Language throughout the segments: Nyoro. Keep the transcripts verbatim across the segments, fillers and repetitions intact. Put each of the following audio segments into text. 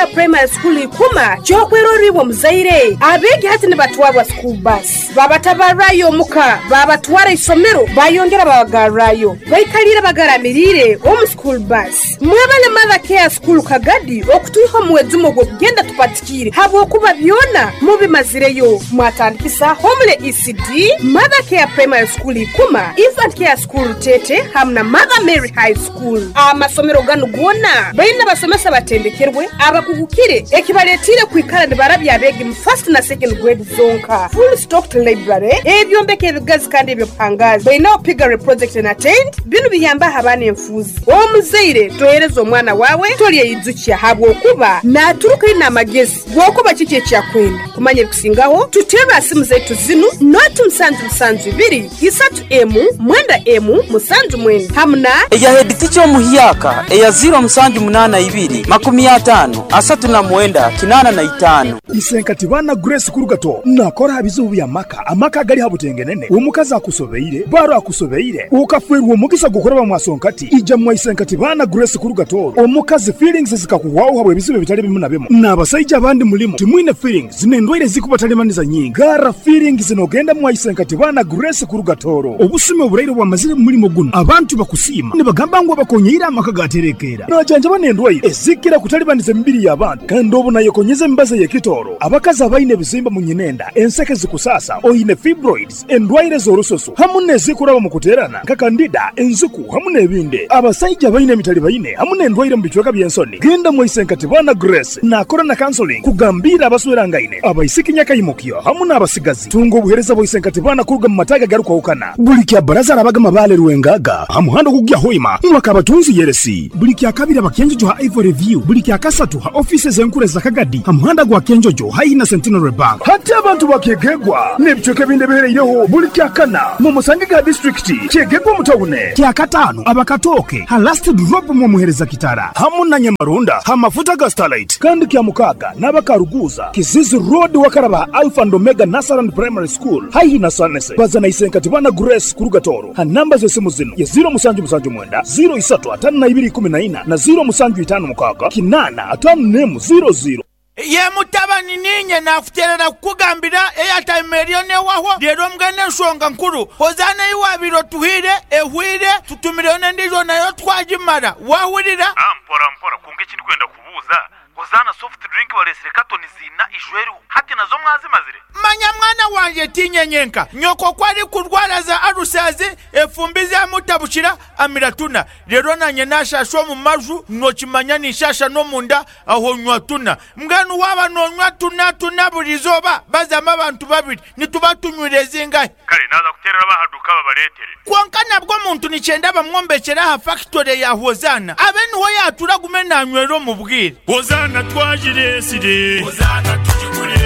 Care Primary School ikuma kyokweroribwa muzaire abeegi hati nibatwarwa school bus babatabarrayo omuka babatwara isomero bayongera babagarrayo baikalire bagaramirire omu school bus mwebale Mother Care School Kagadi okutuiha omuwezumo gw'okugenda tupatikire habwokuba byona mubimazireyo mwatandikisa Homle E C D Mother Care Primary School ikuma Infant Care School Tete hamwe na Mother Mary High School. Amasomero ganu gona baina basomesa batendekerwe abakugukire ekibaletire kwikara nibarabya abegi mu first na second grade zonka. Full stocked library ebyombeko ebigazi kandi ebyobuhangazi baina piggery project and attend binu biyamba abaana enfuzi. Omuzaire tohereza omwana wawe tolyeyizukia habwokuba naturuka ina amagezi gwokuba kiki ekyakwenda kumanya ebikusingaho tuteba simu zaitu zinu noti musanju musanju ibiri isatu emu mwenda emu musanju mwenda hamuna eya head teacher omuhyaka eya zero musanju munana ibiri makumi atano asatu na mwenda kinana na itano. Isenkati bana Grace Kurugato nakora habizubu bya maka amaka gali habutengenene omukazi akusobeire baro akusobeire ukafwerwa omugisa gukora bamwasonkati ija mwa Isenkati bana Grace Kurugato omukazi feelings zikakuwaho habwe ebizibu bitali bimu na bimu n'abasajja abandi mulimo timwine feelings n'endwaire zikubatalemaniza nyingi gara feelings zinogenda mwa Isenkati bana Grace Kurugatoro obusime oburaire bwamazire mu mulimo guno abantu bakusiima nibagamba ngu abakonyeira amaka gaterekera najanja banendwaire ezikira kutalibaniza emibiri y'abantu kandi obu nayekonyeza embaza y'ekitoro abakazi abaine ebizimba mu nyinenda enseke zikusasa oyine fibroids endwaire z'orusoso hamu n'ezikuraba mu kuterana nka kandida enziku hamu n'ebindi abasajja abaine emitali baine hamu n'endwaire mu bicweka by'ensoni genda mwa Isenkati bana Grace nakora na counseling kugambira abaswerangaine abaisiki nyakayimukyo hamu n'abasigazi tunga obuhereza bwa Isenkati bana kuruga mu mataga garukwahukana buli kya baraza arabagama bale rwengaga hamuhando kugya hoima mwaka abatunzi yeresi buli kya kabiri abakenjojo ha Ivory View buli kya kasatu ha offices enkure za Kagadi hamuhanda gwa Kenjojo haihi na Centenary Bank hati abantu bakegegwa n'ebicweka ebindi bihereireho buli kya kana mu Musangiga district kyegegwa mutawune kya katano abakatoke ha last drop mu muhereza kitara hamu na Nyamarunda ha mafuta ga Starlight kandi kya mukaga n'abakaruguza Kizizi Road wakaraba Alpha and Omega Nasaran Primary School haihi na Sanese bazana Isenkati bana Grace Kurugatoro ha namba z'esimu zino ya zero musanju musanju mwenda zero isatu atano na ibiri kumi na ina na zero musanju itano mukaga kinana atano nemu zero zero. Ye mutabani ninye nakuterera kukugambira airtime eriyo newaho rero mbwene enshonga nkuru hozana iwabiro tuhire ehwire tutumireyo n'endijo nayo twagimara wahurira. Ah, mpora mpora kunga ekindi kwenda kubuuza hozana soft drink balesire katoni zina ijweru hati nazo mwazimazire. Manya mwana wanje tinyenyenka nyoko kwari kurwara za arusazi efumbi zamutabukira amiratuna rero nanye nashasha mu maju nokimanya nishasha no munda aho nywa tuna mbwenu waba nonywa tuna tuna burizoba bazama abantu babiri nituba tunywire zingahe kale naza kuterera bahaduka babaretere konka nabwo muntu nicyenda bamwombekera ha factory ya Hozana abe niho yatura gume nanywero mu bwire Hozana twajiresire Hozana tujigure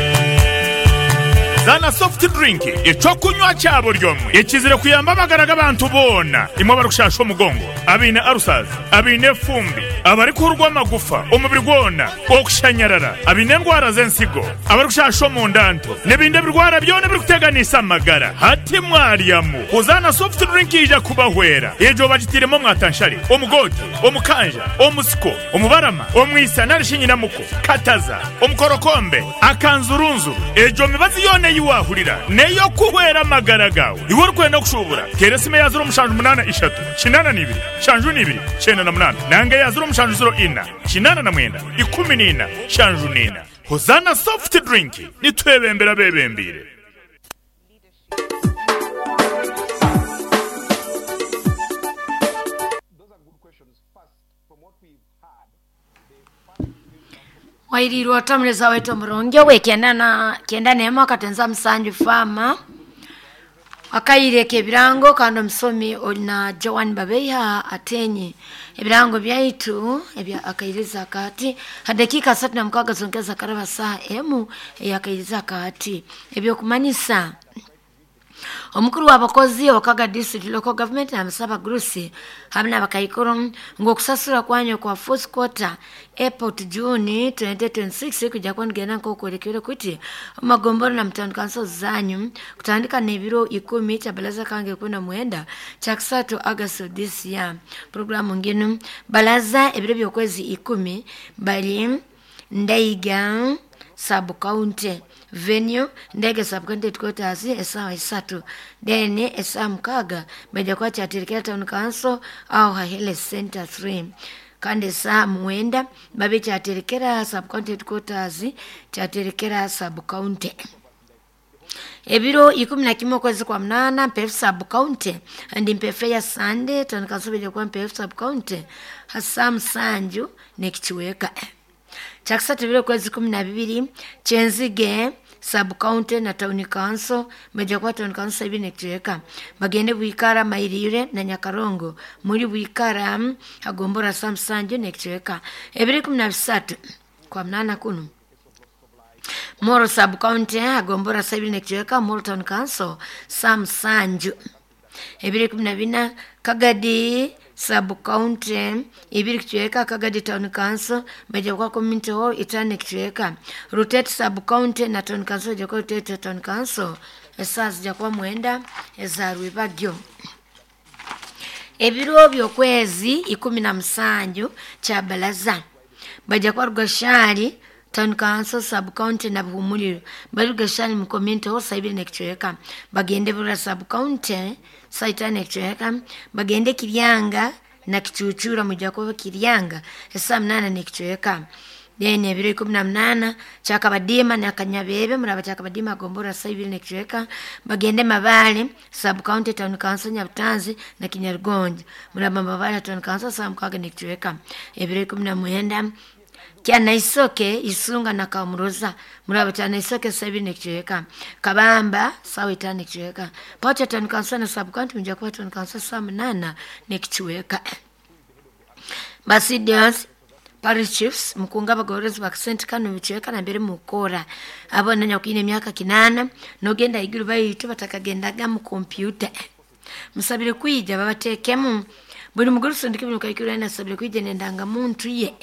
Zana soft drink ecokunywa cyabo ryomwe ekizire kuyamba amagara g'abantu bona imwe barukushasha omugongo abine arusaza abine fumbi abari kurwa amagufa omubiri gwona okushanyarara abine endwara z'ensigo abarikushasha omundanto n'ebindi ebirwara byona birikuteganisa amagara hati mwaryamu Hozana soft drink ija kubahwera ejo bagitiremo mwatanshari omugote omukanja omusiko omubarama omwisa narishinyinamuko kataza omukorokombe akanzurunzuru ejo mibazi yona yiwahurira neyo kuhwera amagara gawe iwe urikwenda kushubura teresime ya zero mushanju munana ishatu kinana nibiri shanju nibiri cyenda na munana nanga ya zero mushanju zero ina kinana na mwenda ikumi nina shanju nina. Hozana soft drink nitwebembera bebembire. Wairirwa tamreza wetu mronge we kenda na kenda neema katenza msanju fama akaireke ebirango kandi omusomi olina Joan Babeiha atenye ebirango byaitu ebya akairiza kati hadakika satu na mukaga zongeza karaba saa emu eyakairiza kati ebyokumanyisa omukuru w'abakozi wakaga district local government amusaba grusi hamwe n'abakaikuru ngo okusasura kwanyu kwa fourth quarter April to June twenty twenty-six kujya kwongera nkokurekere kuti magomboro na mtandiko kanso zanyu kutandika n'ebiro ikumi cha balaza kange kuna mwenda cha kusatu August this year programu nginu balaza ebiro by'okwezi ikumi bali Ndaiga sub county venue Ndaiga sub county headquarters esawa isatu then esawa mukaga baija kuba Kyaterekera town council aho ha health center three kandi esaha mwenda babe Kyaterekera sub county headquarters Kyaterekera sub county. Ebiro ikumi na kimwe okwezi kwa munana Mpefu sub county and Mpefu ya Sunday town council baija kuba Mpefu sub county hasa musanju nekikiweka. Kyakisatu ebiro okwezi kumi na bibiri Kyenzige sub county na town council baija kuba town council ibiri nekikiweka. Bagende Bwikara Mairire na Nyakarongo muri Bwikara hagombora sa musanju nekikiweka. Ebiro ikumi na bisatu kwa munana kunu Moro sub county agombora sabiri nekiweka Moro town council sa musanju. Ebiri kumi na bina Kagadi sub county ibiri kichweka Kagadi town council baija kuba community hall itano kichweka. Rutete sub county na town council baija kuba Rutete town council esaa zijja kuba mwenda eza rwibagyo. Ebiro by'okwezi ikumi na musanju Kyabalaza baija kuba Rugashari town council sub county na Buhumuliro bari Rugashari mu community hall saa ibiri nekichweka. Bagende Burra sub county saa itano nekichweka. Bagende Kiryanga na Kichuchura mujja kuba Kiryanga esaa munana nekichweka. Then ebiro ikumi na munana Kyakabadima na Kanyabebe muraba Kyakabadima agombora saa ibiri nekichweka. Bagende Mabale sub county town council Nyabutanzi na Kinyarugonjo muraba Mabale town council saa mukaga nekichweka. Ebiro ikumi na mwenda Kyanaisoke Isunga na Kamuroza muraba Kyanaisoke saa ibiri nekichweka. Kabamba sawa itano nekichweka. Pacha town council na sub county mujja kuba town council saa munana nekichweka. Basidians parish chiefs mukunga abagororezi bakasente kano bichweka na mbere mukora abona nyakwine emyaka kinana nogenda iguru bayitu batakagendaga mu computer musabire kwija babatekemu buli muguru sindike buli kaikura nasabire kwija nendanga muntu ye.